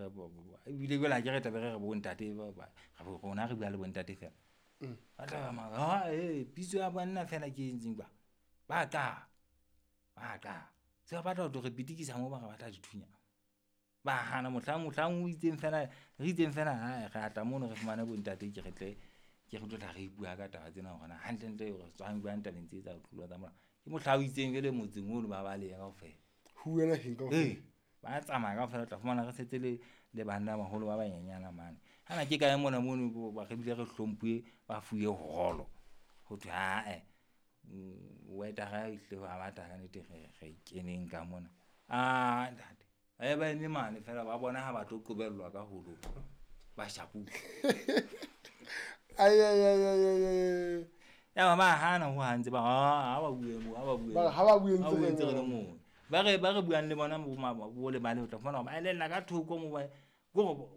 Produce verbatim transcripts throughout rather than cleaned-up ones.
re ebile jwale ha ke re tlabe re re bo ntate ba ba rona re bua le bo ntate fela. Ba tla ba ma ha eh pitso ya banna fela ke e entseng ba. Ba tla. Ba tla. Se ba batla ho tlo re pitikisa mo ba re batla dithunya. Ba hana mohlang mohlang o itseng fela re itseng fela ha re atla mono re fumane bo ntate ke re tle ke re tlo tla re bua ka taba tsena hore na hantle ntle re tswang bua tabeng tse tsa ho tlolwa tsa molao. Ke mohla o itseng jwale motseng ono ba baleha kaofela. Ho wena heng kaofela? Ee, ba tsamaya kaofela, o tla fumana re setse le le banna baholo ba banyenyana mane. Hana ke kae mona mono ba re bile re hlomphuwe ba fuwe holo. Ho thwe ae wetara e hle ba batla ka nnete re re keneng ka mona. Ah ntate, ba ba eme mane fela ba bona ha ba tlo qobellwa ka holong. Ba shapuwe. Ai ai ai ai ai ai. Ya ba hana ho hantse ba ha ba bue mo, ha ba bue. Ba ha ba bue Ha bue ntse ntse re le moo. Ba re ba re buang le bona bo ma bo le bale o tla fumana ba elella ka thoko mo ba go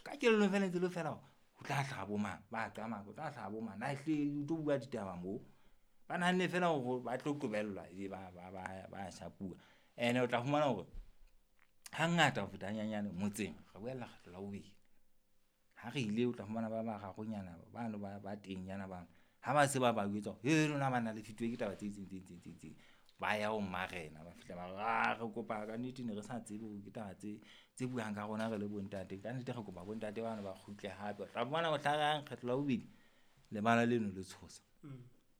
ka kelellong fela ntse le fela ho tla hlaha bo mang ba qama ho tla hlaha bo mang na ehle o tlo bua ditaba mo. Ba nahanne fela hore ba tlo qobellwa ebe ba ba ba ba shapuwa. Ene o tla fumana hore hangata ho feta hanyanyane motseng re boela kgetlo la bobedi. Ha re ile o tla fumana ba bararonyana bano ba ba teng nyana bano. Ha ba se ba ba jwetsa hore he lona banna le fituwe ke taba tse itseng tse itseng tse itseng. Ba ya ho marena ba fihla ba re ah re kopa ka nnete ne re sa tsebe hore ke taba tse tse buang ka rona re le bontate. Ka nnete re kopa bontate bano ba kgutle hape. O tla fumana mohlang kgetlo la bobedi lebala leno le tshosa.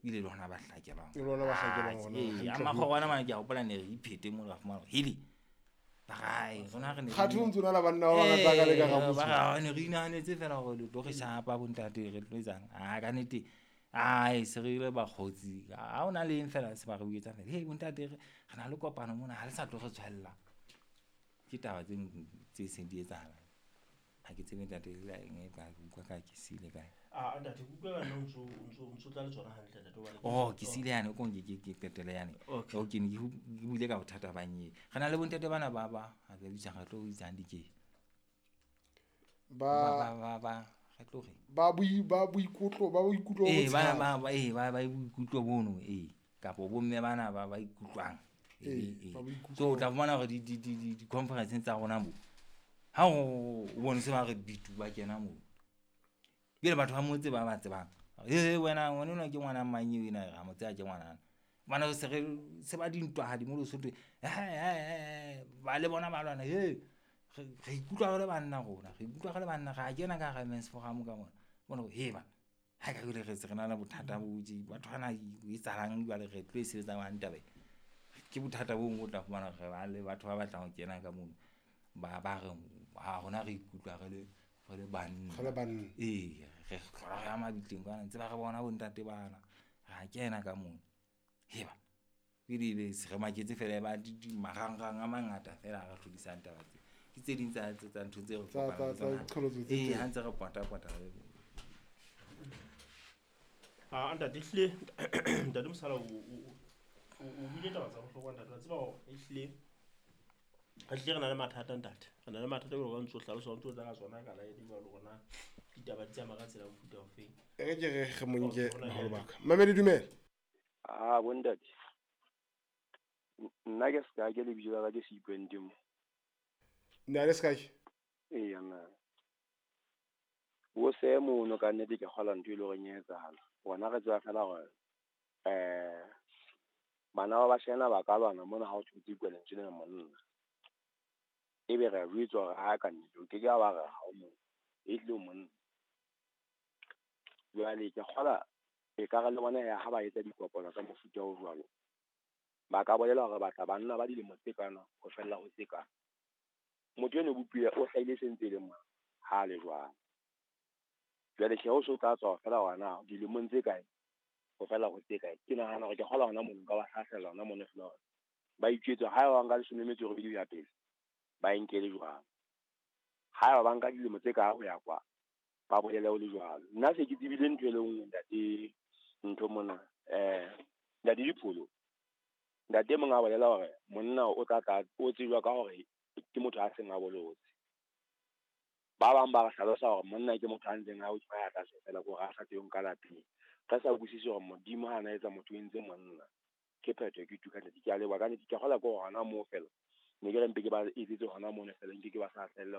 Ebile le hona ba hlakelang. Le lona ba hlakelang hona. Ee, a makgorwana mane ke a hopola ne re iphete mono ra fumana hore hele. Ba re, rona re ne re Kgathe o ntso na le banna ba bangata ka le ka Ee, motse. ba re, ne re inahanetse fela hore le tlo re shapa bontate re tlo etsang. Ah ka nnete ai se re ile bakgotsi. Ha hona le eng fela se ba re buetsa fela. Hei bontate re re na le kopano mona ha le sa tlo re tshwella. Ke taba tse tse seng di etsahala. Ha ke tsebe ntate le eng e ka utlwa ka ke siile kae. Ah ntate ke utlwa ka nna o ntso o ntso tla le tsona hantle ntate hobane Oh ke siile yane o ke ke ke qetele yane. Okay. O ke ne ke buile ka bothata ba nye. Re na le bontate bana ba ba ha ke bitsa re tlo itsang dike. Ba ba ba ba re tlo re. Ba boi ba boikutlo ba boikutlo bo Eh ba botshehadi. ba ba eh ba ba boikutlo bono eh kapo bomme bana ba ba ikutlwang. Eh, Eh ba boikutlo. So o tla fumana hore di di di di conference tsa rona mo. Ha o bone se ba re bitu ba kena mo. Jwale batho ba motse ba ba tsebang. Eh wena ngwana enwa ke ngwana mang eo ena ra mo tseba ke ngwana. Bana se re se ba dintwa di mo Lesotho. Eh ba le bona ba lwana he re re ikutlwa re le banna rona re ikutlwa re le banna ra kena ka hara men's forum ka mona. Bona he ba ha ka jwale re se re na le bothata bo tje batho bana e etsahalang jwale re tlo e sebetsa jwang taba e. Ke bothata bo bong o tla fumana re ba le batho ba batlang ho kena ka mono. Ba ba re ha rona re ikutlwa re le re le banna. Re le banna. Ee, re hlola re ya mabitleng kwana ntse ba re bona bontate bana. Ra kena ka mono. Heba. Pele ebe se re maketse fela ba di di marangrang a mangata fela a re hlodisang taba tse. Ke tse ding tsa tsa ntho tse re Tsa kopanang tsa tsa le tsona. qholotso tse Ee, teng. ha ntse re pota pota. Ah ntate ehlile ntate Mosala o o o buile taba tsa bohlokwa ntate wa tseba hore ehlile re hlile re na le mathata ntate. Re na le mathata jwalo ka o ntso hlalosa o ntso tla ka tsona ka line jwalo hore na ditaba di tsamaya ka tsela ya mofuta ofeng. E re ke re re mo nke Okay, hona baholo jwale. ba ka. Mamedi dumela. Ah bontate. Nna ke ska ke lebitso la ka ke Seipwente mo. Nna le Sky. Ee na. Bo se mono ka nnete ke kgola ntho e le hore e etsahala. Rona re tseba fela hore eh bana ba bashanyana ba ka lwana mona ha o thotse kwa lentswe lena monna. Ebe re a jwetswa hore ha ka nnete o ke ke wa re ha o monna. E tlile o monna. Jwale ke kgola e ka re le bona ya ha ba etsa dikopano tsa mofuta o jwalo. Ba ka bolela hore batla banna ba dilemo tse kana ho fella ho tse kana. Motho eno bopuwe o hlahile sentse le mona ha le jwalo. Jwale tjhe o so tla tswa fela hona dilemong tse kae ho fela ho tse kae. Ke nahana hore ke kgola hona mono nka ba hlahlela hona mono fela hore ba itjwetse ha ba nka leshome le metso e robedi ho ya pele ba e nkele jwalo. Ha ba nka dilemo tse kae ho ya kwa ba bolele ho le jwalo. Nna se ke tsebile ntho e le nngwe ntate ntho mona eh ntate Dipholo. Ntate mong a bolela hore monna o tla tla o tsejwa ka hore ke motho a seng a bolotse. Ba bang ba re hlalosa hore monna ke motho a ntseng a o tshwaya tlase fela ko re a sa tsebeng ka lapeng. Re sa utlwisise hore Modimo ha na etsa motho o entse monna. Ke phetho ke tuka ntate ke a leboha ka nnete ke kgola ko hona moo fela. Ne ke re mpe ke ba etsetse hona mono fela nke ke ba sa hlahella hona.